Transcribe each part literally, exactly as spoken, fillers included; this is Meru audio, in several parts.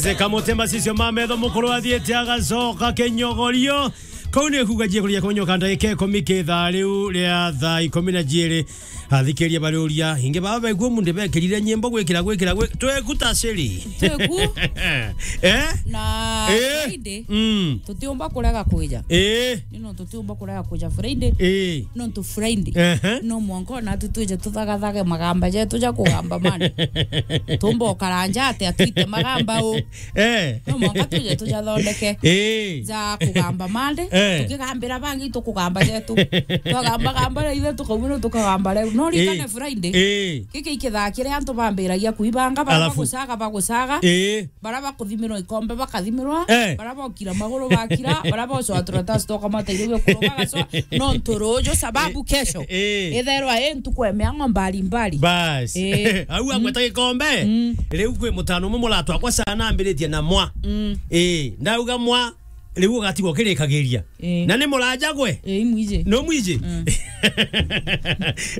Zeka mutema cisio ma metho mukuru athiite agacoka kinyogorio. Kau ni kuuga jie kuria kumenyoka ndagika ikumi ki thaa riu ria thaa ikumi na jiiri. Athikiria bari uria, ingi baba baigua mundu bekirire nyimbo gwikira, gwikira, gwi-, tweku ta ciri. Tweku. Eh? Na Eh? Friday, Mm. tutiumba kurega kwija. Eh? Ni nontu tutiumba kurega kwija Friday. Eh. Nontu Friday. Ehe. No mwanka ona tu twije tuthagathage magamba jetu ja kugamba mani. Tumba ukaranja ati atwite magamba u. Eh. No mwanka tuje tujathondeke. Eh. Ja kugamba mande. Eh. Tukigambira bangi tukugamba jetu. Twagamba gamba ria ithe tukaumira tukagamba riu. No rikane Eh. Friday. Eh. Giki ikithaa kiria antu bambiragia kuibanga, bara Alafu bagucaga, bagucaga. Eh. Bara bakuthimirwa ikombe bakathimirwa, Eh. bara bokira maguru bakira, bara bocwa turatasi twa kamata irio bia kuruga gacwa, nontu ruju sababu Eh, kesho. eh. Itherwa i ntuku ya miango mbali mbali. Bas. Eh. Au agweta gikombe. Mm. Riu kwi mutano umwe muratwa kwa sana ambiritie na mwa. Mm. Eh, ndauga mwa, riu ugatigwo kirikagiria. Eh. Na ni muraja gwe? Eh, imwiji. No mwiji? Mm.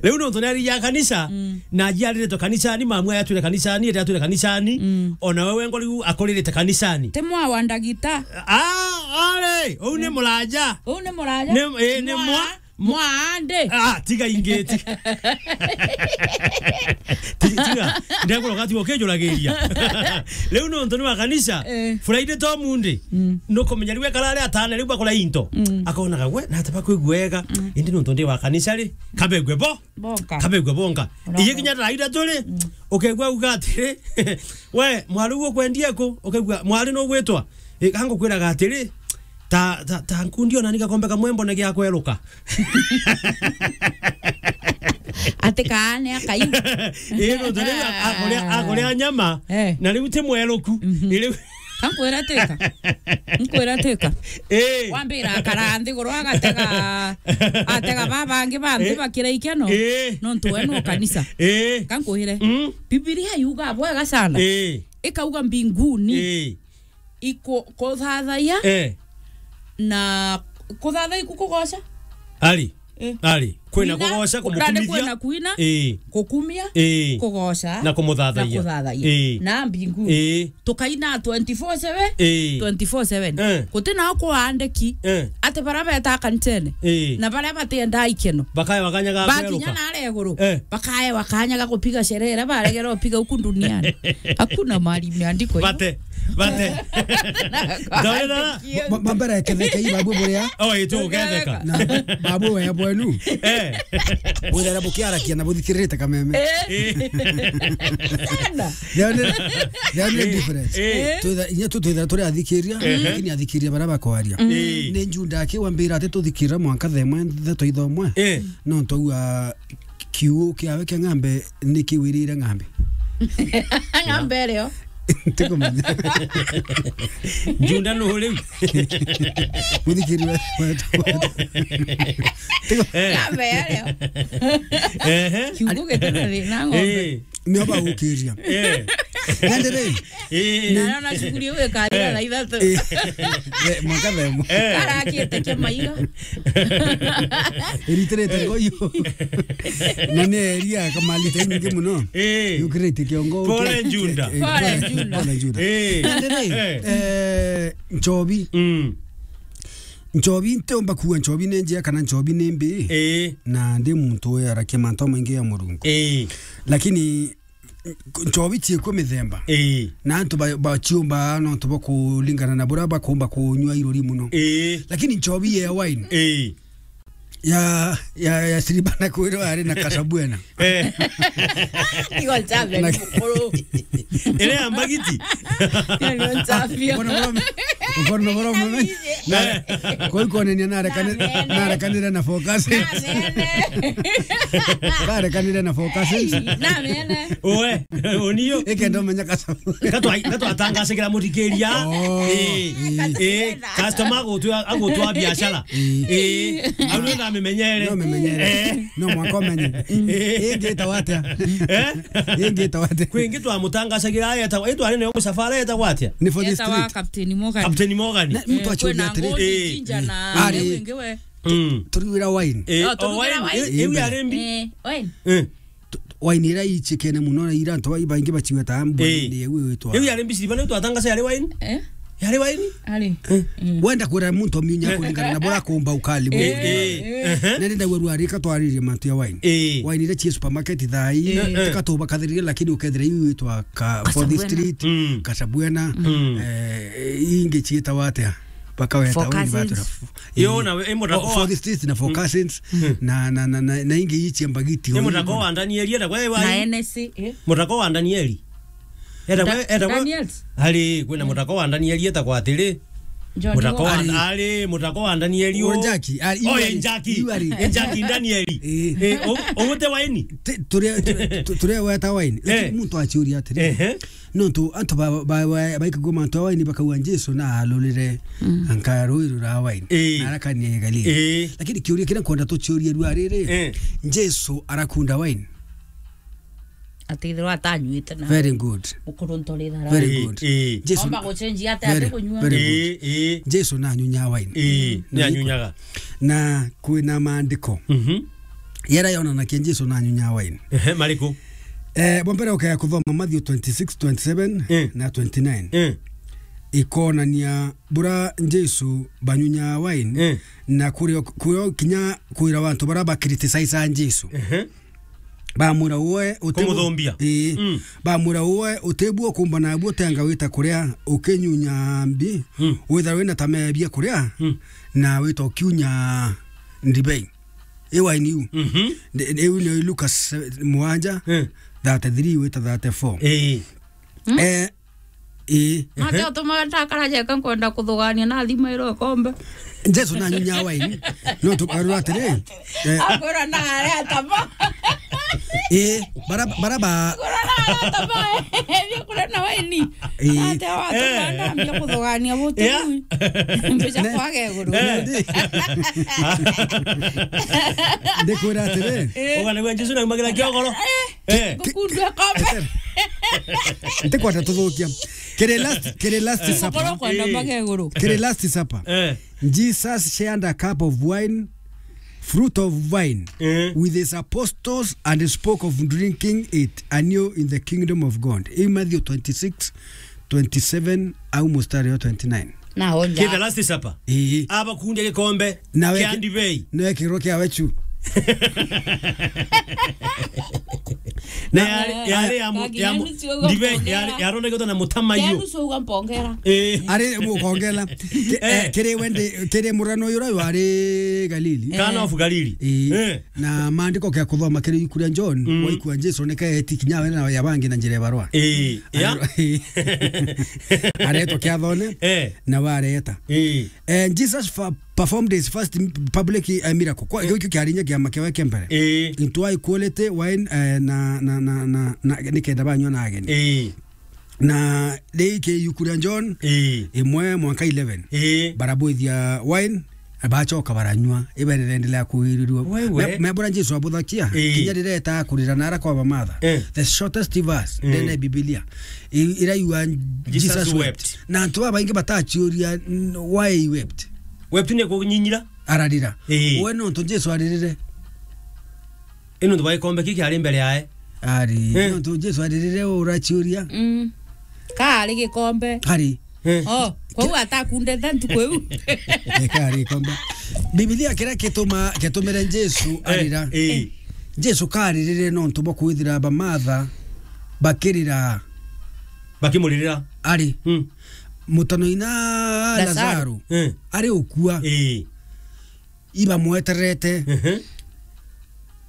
Riu nontu ni arigia kanisa, Mm. na ajiariritwe kanisani, mamu aya atwire kanisani, ete atwire kanisani, Mm. ona we wengo riu akuririte kanisani. Ti mwa wa ndagita. Ah, ari, uu ni muraja. Uu ni muraja. Ni, eh, ni Mwa, mwa. mwa ande. Ah, tiga ingi, tiga. Ti-, tiga. Ndekura gati ukijuragiria. Riu nontu ni wa kanisa, Eh. Friday to Monday. Mm. Nukumenya riu ekara ari atana riu bakora into. Mm. Akonaga gwe, na ati bakwigua wega. Mm. Indi nontu ndi wa kanisa ri, kabegwe bo. Bonka. Kabegwe bonka. Ona Iye bo. kinya thaa ithatu ri, Mm. ukegua uga atiri, "We, mwari uguo kwendia ku?" Ukegua, "Mwari no gwitwa?" I, kangukwiraga atiri, "Ta, ta, ta nkundi ona ni gakombe kamwe mbone gia kweruka." Ati kaane akai. Ii, nontu riu a-, akuria, akuria nyama, Eh. na riu ti mweruku. Mhm. Ii, riu Kankwira twika. Nkwira twika. Ii. Wambira akara nthiguru agatega, atega babangi banthi Eh. bakira ikeno. Eh. Nontu we no kanisa. Eh. Kankwire. Mm. Bibilia yuga bwega sana. Eh. Ikauga mbinguni. Eh. Iku-, kuthathaiya Eh. na kuthathaiya ku-, kugoca. Ari. Eh. Ari. Kwina Kuina, kugoca, ku-, nandi kumukumithia. kwina kuina, Eh. kukumia, Eh. kugoca, Na kumuthathaiya. na kuthathaiya. Eh. Na mbinguni. Eh. Tukaina twenty-four seven, Eh. twenty-four seven. Eh. Guti nao kwaandiki Eh. ati baria beta kanisene Eh. na baria batiendaa ikeno. Bakaewa kanya ga Bakinya kweruka. na aria iguru, Eh. bakaewa kanya ga gupiga sherehe iria baregere gupiga uku duniani. Hakuna mahali imeandikwa hivyo. Bate, bate. Ndorera. Ba-, ba-, mbere ketheke ibabu buria. Oh, itu uketheka. Na babu we bwenu. Eh. Buthera bukiarakia na buthikirite kameme. Eh. Eh. Sana. There are no, there are no Eh. difference. Eh. Twitha-, inya tu twithira turi athikiria, Ehe. lakini athikiria baria bakwaria. Eh. Ni Juda akiwambira ati tuthikira mwanka themwe, ndeto ithomwe. Eh. No twaua kiugo kiawe kia ng'ambe ni kiwirire ng'ambe. Ng'ambe irio. Tikumenya. Juda nu riu. Muthikiri wetu, wetu, wetu. Tiku- Eh. Ng'ambe irio. Ehe. Kiugo gitire thina ng'ombe. Eh. Nio bagukiria. Eh. Nandi ri, Eh. Na nona cukuru iu ikaria Eh. thaa ithatu. Eh. Eh, mwaka themwe. Eh. Arakite kimaiga. Iritirite ngoyo. Na ni eria kamalite nyingi muno. Eh. Yukirite kiongo. Pole Juda. Eh, Pole pole, Juda. Pole Juda. Eh. Nandi ri, Eh. eh, Nchobi. Mm. Nchobi, ntiumba kuuga Nchobi ni njega kana Nchobi ni mbi. Eh. Na ndi muntu uyarakia mantu maingi ya Murungu. Eh. Lakini Nchobi ciikuo mithemba. Ii. Na antu ba-, baciumba nontu bwa kuringana na buria bakumba kunyua iruri muno. Ii. Lakini nchobi ya wine, Ii. ya, ya, ya siriba na kwirwa ari na kasabwena. Eh. Tigo nchabe Na- mukuru. Ire ya mbagiti. Ndio nchapio. Ukoona bora ume-, ukoona bora ume-, Kabije. Na, kwa hiyo kuonania narekane-, Amen. narekanire na forecast. Amen. Narekanire na forecast. Hey, amen. Oe, onio. Eke ndo menya kasa. Gatwa-, gatwatangacagira muthikiria. Oh, Eh, ii. eh, customer agutwa, agutwa biashara. Ii. Eh, au ndio namenyere. No memenyere. Eh. No mwaka umenye. Eh. Ii ngita watia? Eh? Ii ngita watia? Kwingi twamutangacagira ayeta, itwa nene yo musafara yeta watia? Ni for the Yetawa street. Captain Morgan. Captain Morgan. Na mtu Eh, achoria kwina atiri. Ngondi, Eh. Jinja na Ari. Riu ingi we. Mm. Turiwira wine. Eh, Oh, o turiwira wine, wine. eh, iu ya rembi. Eh, wine. Eh. Tu-, tu-, Wine ira ichikene muno na ira antu bai baingi bachiweta mbwene. Eh. Ni iu itwa. Iu yari mbiciri bana twatangasa yari wine? Eh? Yari wine? Ari. Eh. Mm. Wenda kwira muntu omiunya, eh, kuringana na bura kumba ukali. Eh, eh, eh. Na nenda gwe rwarika twaririe mantu ya wine. Eh. Wine ira chie supermarket thai, eh, eh, tikatuba kathirire, lakini ukethira iu itwa ka Fourth Street, mm, Kasabuena, mm, eh, ingi chietawa atia? Bakaweta Four Cousins. Yo, na we, eh, mutako wa Fourth Street na Four Cousins, mm, na, na, na, na, na ingi ichia mbagiti. Eh, mutako wa Danieli, eta kwa wa Na N S C, eh? Mutako wa Danieli. Eta Da-, kwa, eta kwa Daniels? Ari, kwina mutako wa Danieli, eta kwa atiri. John Mutako wa, Wall. Ari, mutako wa Danieli o. Njaki, ari, Oh, iu ari, Njaki. Iu ari. Njaki Danieli. Eh. Eh, o-, o mute waini? Te-, turia, turia, tu-, turia weta waini. Eh. Lakini muntu achiuria atiri. Ehe. Nontu antu ba, ba, ba, baikagua mantu a waini bakauga Jesu na alurire, mm, anka rui rura waini. Ii. Na arakania Galili. Ii. Lakini kiuria kiria nkwenda tuchiurie rua riri, ii, Jesu arakunda waini? Atithirwa atanyuite na Very good. Ukuru ntori thara. Very good. Ii, ii. Jesu Omba guchenji ate Very, ati kunyua. Very good. Ii, ii. Jesu na anyunya waini. Ii, na ni anyunyaga. Na kwina maandiko. Mhm. Yara yonanagia Jesu na anyunya waini. Ehe, mariku? Eh, bwa mbere ukaya kuthoma Matthew twenty-six, twenty-seven, eh, na twenty-nine. Eh. Ikonania bura Jesu banyunya waini, eh, na kurio, kurio kinya kwira wantu bara ba criticize Jesu. Ehe. Bamwira uwe utebu-, Kumuthumbia. Ii. Mm. Bamwira uwe utebu ukumba nabu utenga wita kuria ukinyunya mbi, mm, witha wina ta mebia kuria, mm, na wita ukiunya ndibei. Iwa ni u. Mhm. Ndi-, ndi-, iu ni Lucas, eh, muanja, eh, thirty-three wita thirty-four. Ii. Hmm? Eh, ii. Mate utuma ndakara jeka nkwenda kuthugania na thima iro ikombe. Jesu na nyunya waini. No tu arua atiri. Eh. Akwira na aria atama. Ii, bara, bara ba Akwira na aria atama. Ebia kuria na waini. Ii. Ate watu, eh, banda ambia kuthugania butu. Yeah. Mbeca Ne-, kwage iguru. Eh. Ndikwira atiri. Eh. Uganagua Jesu na umagira kiogoro. Eh. Eh. Gukundua kombe. Ntikwenda tuthukia. Kiri last, kiri last, eh, supper. Gukoro kwenda, eh, mageguru. Kiri last supper. Eh. Jesus shared a cup of wine, fruit of vine, eh, with his apostles and spoke of drinking it anew in the kingdom of God. In Matthew twenty-six, twenty-seven, au mustari wa twenty-nine. Na onja. Kiri the last supper. Ii. Abakundia gikombe kia ndibei. Nawe ki-, nawe kirwo kiawe chu. Na yari, yari ya mu-, ya mu-, ndibei yari, yarondeketwe na mutamaio. Kia nusu uga mpongera. Eh. Ari mukongela. Ki-, eh, eh, kiri wende, kiri murano yura wari Galili. Kana of Galili. Eh. Eh. Na maandiko kia kuthoma kiri iku ria John, mm, waikua Jesu nike eti kinya we na ya bangi na njira ya barua. Eh. Ya. Aretwa kiathone, eh, na wareta. Eh. Eh, Jesus fa-, performed his first m-, public, eh, miracle. Kwa, eh, gikio kiari nya kiama kiawe kia mbere. Eh. Into equality wine, eh, na, na, na, na, na, nikenda banyua na ageni. Eh. Na riki iku ria John, eh, imwe mwanka eleven. Eh. Barabwithia wine, na bachoka baranyua. Iberere endelea kuirirua. Wewe. Me-, mebura Jesu abuthakia. Eh. Kinya rireta kurira na ara kwa bamatha. Eh. The shortest verse, eh, ndene Biblia. I-, ira iwa Jesus wept. Jesus wept. Na antu babaingi batachiuria, n-, why he wept. Wept ni kunyinyira? Ararira. Ii. We nontu Jesu aririre. Ino ntu ba gikombe ki kiari mbere yae. Ari. Eh. Nontu Jesu aririre urachiuria. Mm. Kaari gikombe. Ari. Eh. Oh, kwou atakundete ntuku iu. Eh, kaari gikombe. Biblia kira kituma, kitumire Jesu, eh, arira. Eh. Jesu karirire nontu bwa kwithira bamatha bakirira. Bakimuririra. Ari. Mm. Mutano ina Lazaro. Lazaro. Eh. Ari ukua. Eh. Ibamweterete. Ehe.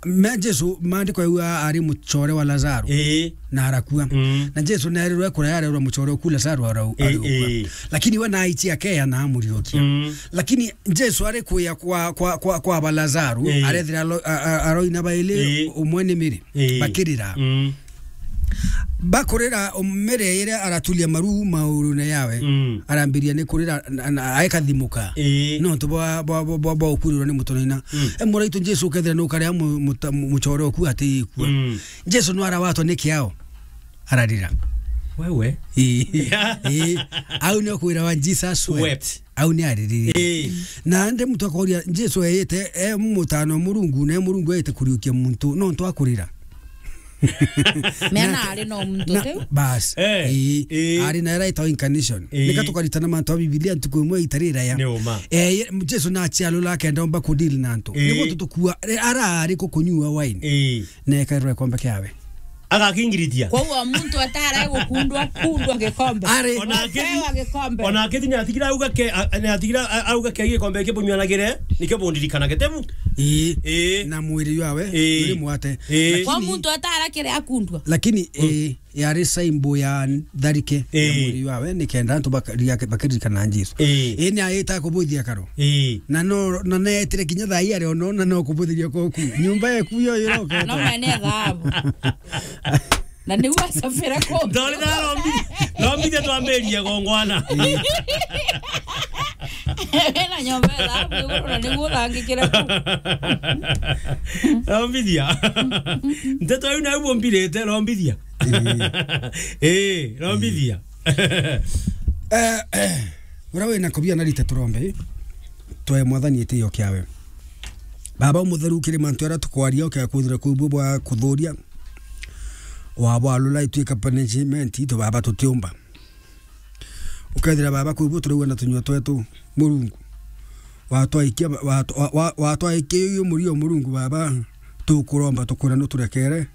Me Jesu, maandiko yauga ari muchore wa Lazaro. Ii. Na arakua. Mm. Na Jesu nerirwe kuria yarerwa muchore uku Lazaro arau-, ii, ari ukua. Ii. Lakini we naichi akeya na amuriokia. Mm. Lakini Jesu ari kuya kwa, kwa, kwa, kwa ba Lazaro, ii, arethira alo-, a-, a-, aroi na baili, ii, umwe ni Miri. Ii. Bakirira. Mm. Bakurira, umire iria araturia maru maurune yawe. Mm. Arambiria ni kurira na, na, aekathimuka. Ii. Nontu bwa, bwa, bwa, bwa, bwa ukurirwa ni mutonoina. Mm. E muraitu Jesu ukethira ni ukaria mu-, muta-, mu-, muchore oku ati ikua. Mm. Jesu no arawatwa ni kiao. Ararira. Wewe? Ii. Ii. Au ni ukwira wa Jesus wept. Wept. Au ni aririre. Ii. Na ndi muntu akoria, Jesu eite, e mutano Murungu, na e Murungu eite kuriukia muntu, nontu akurira. Mena ari no muntu na, tiu. Bas. Eh, Ii, eh. Ari na era itawa incarnation. Eh. Nika tukaritana mantu a Biblia ntuku imwe itarira ya. Ni uma. Eh, Jesu na acialula akenda omba ku deal na antu. Eh. Niguo tutukua, eh, ara ari kukunyua wine. Eh. Na ekairwa ikombe kiawe. Agakingiritia. Kwa hiyo muntu atara gukundwa, kundwa gikombe. Ari. Ona akithi-, Akewa gikombe. Ona akithi ni atigira auga ke, a-, ni atigira a-, auga ke gikombe ke bunywanagire, nike bundirikana getebu. Ii. Ii. Na mwiri wawe, Ii. uri mwate. Ii. Lakini kwa muntu atara kire akundwa. Lakini, Mm. ii, yari symbol ya tharike ya Ii. mwiri wawe, nikenda antu bakari-, bakiririkana Jesu. Ii. Ii, ni ayita kubuthia karo. Ii. Na no, na neetire kinya thaa ii ari ono, na no kubuthiria koku. Nyumba yeku yo iroka. No mene thahabu. Na niu acabire ku. Ndori na rombi-, rombithia twambirie gongwana. Wina nyomba ya thahabu iguru na niguo uthangikire ku. Rombithia. Nteto iu nau bumbirite, rombithia. Ii. Ii, rombithia. Eh, eh, uria wina kubia na rite turombe, twae Mwathani itio kiawe. Baba umutheru, kiri mantu aria tukwaria, ukea kwithira kwi buo bwa kuthuria, wabwalula ituika punishment itu, Baba, tutiumba. Ukethira, Baba, kwi buo turaua na tunyua twetu, Murungu. Watwaikia, wa-, wa-, wa-, watwaikia uyu murio, Murungu, Baba, tukuromba, tukwira nuturekere.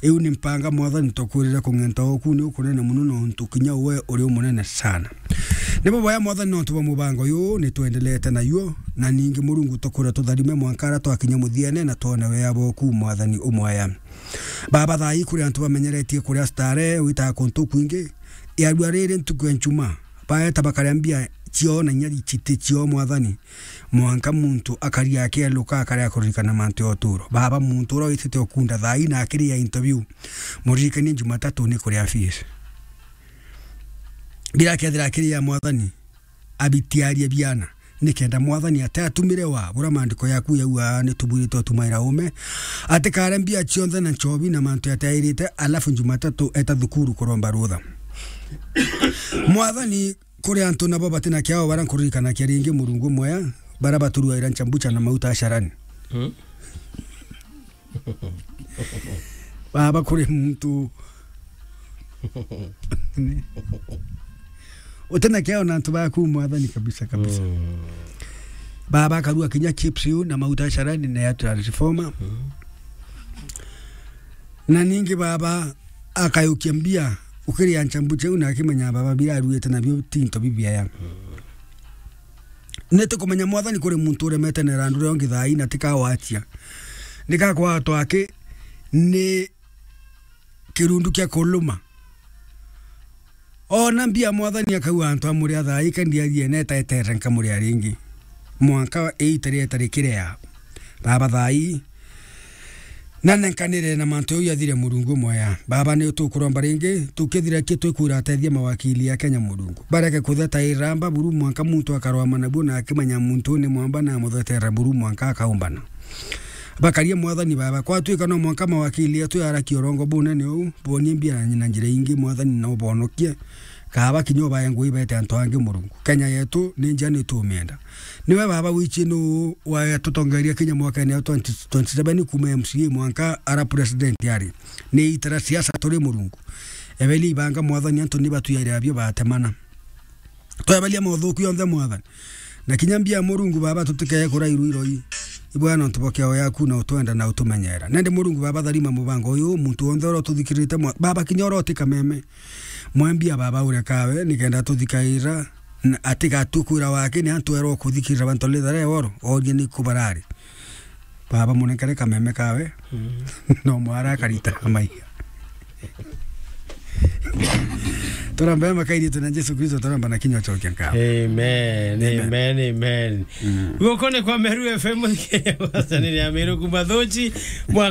Iu ni mpanga, Mwathani, tukwirire kung'enta oku ni ukunene muno, nontu kinya we uri umunene sana. Ni buboya, Mwathani, nontu bwa mubango uyu ni twendelete nayuo, na ningi, Murungu, tukwira tutharime mwanka aria twakinya muthiene na twone wea bwoku, Mwathani, umwaya. Baba, thaa ii kuri antu bamenyeretie kuria stare, witaga kuntu kwingi, yarua riri ntuku ya Njumaa, baeta bakaria mbia cioo na inya citi cioo, Mwathani, mwanka muntu akaria akieluka, akaria kuririkana mantu ya uturo. Baba, muntu uria witite ukunda thaa ii na akiria interview, muririkanie Jumatatu ni kuria fees. Bira akethira akiria, Mwathani, abitiarie biana, nikenda Mwathani ate atumire wa buria maandiko yaku yauga, ni tubwirite utumaira ume, atikare mbia cionthe na nchobi na mantu yatairite, alafu Jumatatu eta thukuru kuromba rutha. Mwathani, kuri antu nabo batina kiao, baria nkuririkanakia ringi, Murungu mwea, baria baturuaira nchambucha na mauta asharani. Hmm? Baba, kuri muntu utina kiao na antu baku, Mwathani, kabisa, kabisa. Mm. Baba akarua kinya chips iu na mauta asharani na ya transformer. Mm. Na ningi, Baba, akayukia mbia ukiria nchambucha iu na akimenya, Baba, bira aruite nabio ti into bibiaya. Mm. Nitukumenya, Mwathani, kuri muntu uremete na irandu ria ungi thaa ii na tikawachia. Nikakwatwa aki ni kirundu kia kuluma. Ona mbia, Mwathani, akauga antu amuria thaa ii, ka ndiarie neta etere nkamuria ringi. Mwanka iita rieta rikirea. Baba, thaa ii, na nenkanire na mantu jau jathire, Murungu mwea. Baba, ni tukuromba ringi, tukithira ki twikwira atethia mawakili ya Kenya, Murungu. Bareke kutheta iramba buru mwanka muntu akarwama nabuo na akimenya muntu ni mwamba na amuthetera buru mwanka akaumbana. Bakaria, Mwathani Baba, kwatwika no mwanka mawakili etu yarakia urongo bunene uu, bonie mbia na njira ingi, Mwathani, na ubonokie. Kaaba kinya ubae ngugi bete antu angi, Murungu. Kenya yetu ni njia, ni tumienda. Niwe Baba wichi nu watutongeria kinya mwakene wa twenty twenty-seven kuma M C A mwanka ara president ari. Ni itara siasa turi, Murungu. Ebeli ibanga, Mwathani, antu ni batuyaira bio batemana. Twebelia mothuku yonthe, Mwathani. Na kinya mbia, Murungu Baba, tutikeye kurairwa iroi. Ibwaya nontu bwa kiao yaku na utwenda na utumenyera. Nende, Murungu Baba, tharima mubango uyu, muntu wonthe uria ututhikirite, mwa-, Baba, kinya uria uti kameme. Mwe mbia, Baba, urekawe, nikenda tuthikaira, na atigatue kwira wake, ni antu erwa kuthikirira bantu lithare woro, orie ni ku barari. Baba, munenkere kameme kawe. Mm. No mwara akarita maiga. Turombe makairitu na Jesu Kristo, turomba na kinywa chokia nkao. Amen, amen, amen. Mm. Gukone kwa Meru F M, wasanire ya Meru kuma Thuchi, mwa